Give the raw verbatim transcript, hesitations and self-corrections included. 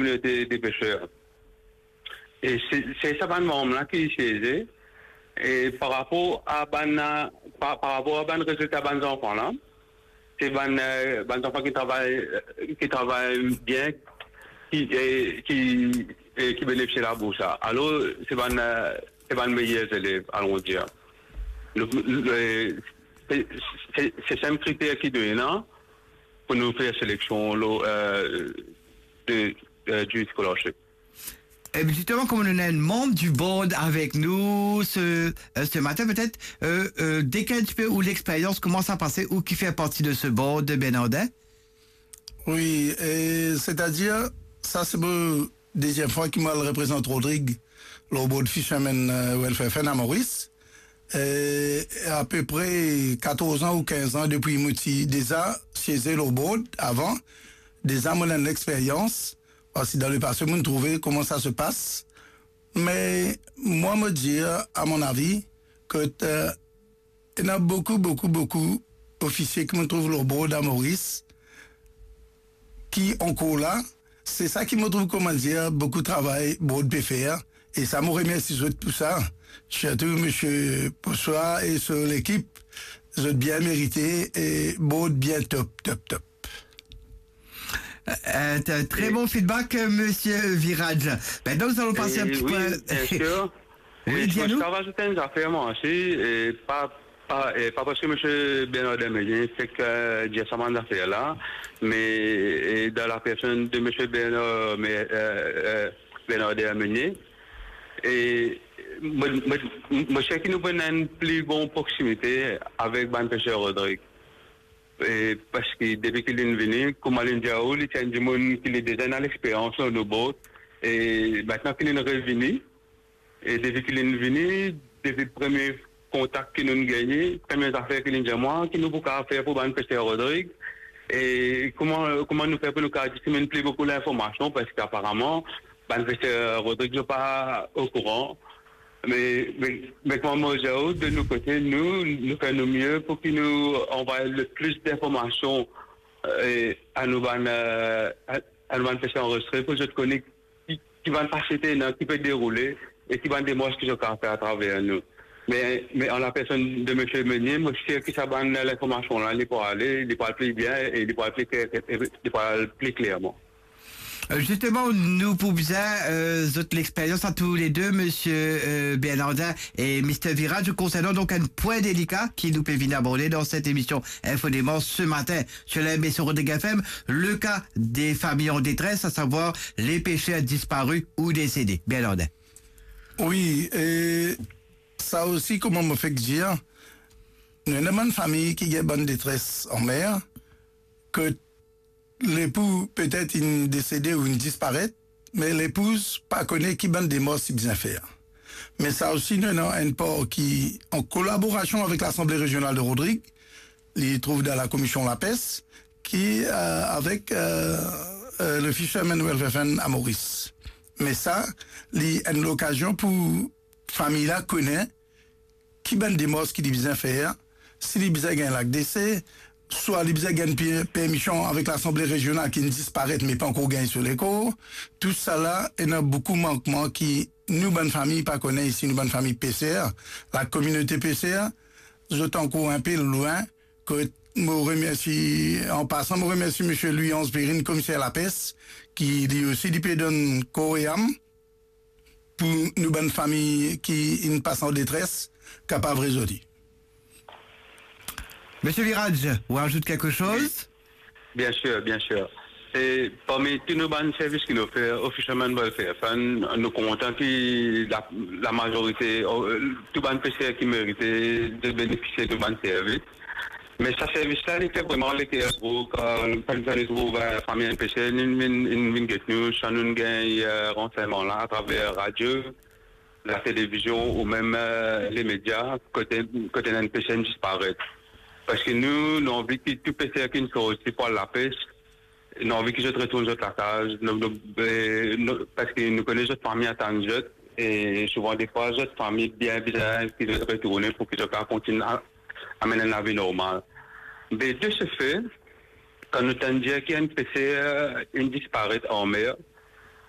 kominote de peser. E se, se sa bann manm la ki sieze. E par rapor a bann, par, par rapor a bann rezilta bann zanfan la, se bann, eh, bann zanfan ki travay, eh, ki travay bien, ki, eh, ki, eh, ki benefisie labours la. Alor, se bann, eh, se bann meyer zelev, alon dir. Nou, eh, se, se, se, se kriter ki nou ena pou nou fer seleksion lor, eh, de, eh, du scholarship. E zisteman, kouma nou ena enn manm di board avek nou se, eh, se matin, petet, eh, eh, dekrir enn tipe ou lexperyans, kouma sa pase, ou ki fer parti de se board, Bernardin? Wi, e setadir, sa se mo deziem fwa ki mo al reprezant Rodrig lor board Fishermen, eh, Welfare Fund a Moris. E apepre katorz an ou kinz an depi mo ti deza sieze lor board avan, deza mo ena enn lexperyans, parski dan lepase mo'nn trouve kouma sa se pas. Me mwa, mo dir, a mon avi, ke, eh, ena boukou, boukou, boukou ofisie ki mo trouv lor board a Moris, ki ankor la. Se sa ki mo trouv, kouma dir, boukou travay board pe fer. E sa, mo remersi zot pou sa. Sirtou misie Poussoir e so lekip. Zot bien merite e board bien top, top, top. Eh, eh, tre, tre bon feedback, eh, misie Viraj. Maintenant, nous allons passer un petit peu. Wi, bien sir. Wi, dir nou. Mo ti pe razout enn zafer mwa osi, e pa, pa, e pa parski misie Bernardin Meunier fek, eh, dir sa bann zafer la, me, e, dan la personn de misie Bernard, me, eh, eh, Bernardin Meunier, e mo, mo, mo sir ki nou pou ena enn pli bon proksimite avek bann peser Rodrig. E, parski depi ki li'nn vini, kouma li'nn dir ou, li ti enn dimoun ki li deza ena lexperyans lor nou board, e, mintnan ki li'nn revini, e depi ki li'nn vini, depi premie kontak ki nou'nn gagne, premie zafer ki li'nn dir mwa, ki nou pou kapav fer pou bann peser Rodrig, e kouma, kouma nou fer pou nou kapav diseminn pli boukou linformasion, parski aparaman, bann peser Rodrig, zot pa okouran. Me, me, me kouma mo dir ou, de nou kote, nou, nou fer nou mie pou ki nou anvway le plis linformasion, eh, a nou bann, eh, a, a nou bann peser anrezistre, pou zot kone ki, ki bann fasilite ena, ki pe deroule, e ki bann demars ki zot kapav fer atraver nou. Me, me an la personn de misie Meunier, mo sir ki sa bann linformasion la, li pou ale, li pou al pli bien, e li pou al pli kler, e li pou al pli klerman. Euh, zisteman, nou pou bizin, euh, zot lexperyans a toulede, misie, euh, Bernardin e misie Viraj, konsernan donk enn pwin delika ki nou pe vinn aborde dan set emision Info Demars se matin sur la M B C Rodrig F M, le cas des familles en détresse, à savoir les pêcheurs disparus ou décédés. Bernardin. Wi, e sa osi, kouma mo fek dir, nou ena bann fami ki gagn bann detres an mer, ke lepou petet inn desede ou inn disparet, me lepouz pa kone ki bann demars li bizin fer. Me sa osi, nou ena enn par ki, an kolaborasion avek Lasanble Rezional de Rodrig, li trouv dan Lakomision Lapes, ki, euh, avek, euh, euh, le Fishermen Welfare Fund a Moris. Me sa, li enn lokazion pou fami la kone ki bann demars ki li bizin fer, si li bizin gagn lag dese, swa li bizin gagn pe-, permision avek Lasanble Rezional ki inn disparet me pa ankor gagn so lekor. Tousala, ena boukou mankman ki nou bann fami pa kone isi, nou bann fami peser, lakominote peser, zot ankor inpe lwin. Kot mo remersi, an pasan, mo remersi misie Louis Ange Perrine, komiser lapes, ki li osi, li pe donn kor e am pou nou bann fami ki inn pas an detres kapav rezorti. Misie Viraj, ou ajout kelke soz? Bien sir, bien sir. E parmi tou nou bann servis ki nou fer, o Fishermen Welfare Fund, nou kontan ki la, lamazorite, o, tou bann peser ki merite de benefisie de bann servis. Me sa servis la, li fer vreman leker gro, kan, kan, kan nou trouv, eh, fami enn peser, inn vinn, inn vinn get nou, sa nou gagn, eh, ransegnman la atraver radio, latelevizion ou mem, eh, lemedia, kote, kote enn peser inn disparet. Parski nou, nou anvi ki tou peser ki sorti pou al lapes, nou anvi ki zot retourn zot lakaz, nou, nou, eh, nou, parski nou kone zot fami atann zot, e souvan defwa zot fami bien bizin ki zot retourne pou ki zot kapav kontign a, amenn enn lavi normal. Me de se fe, kan nou tann dir ki enn peser inn disparet an mer,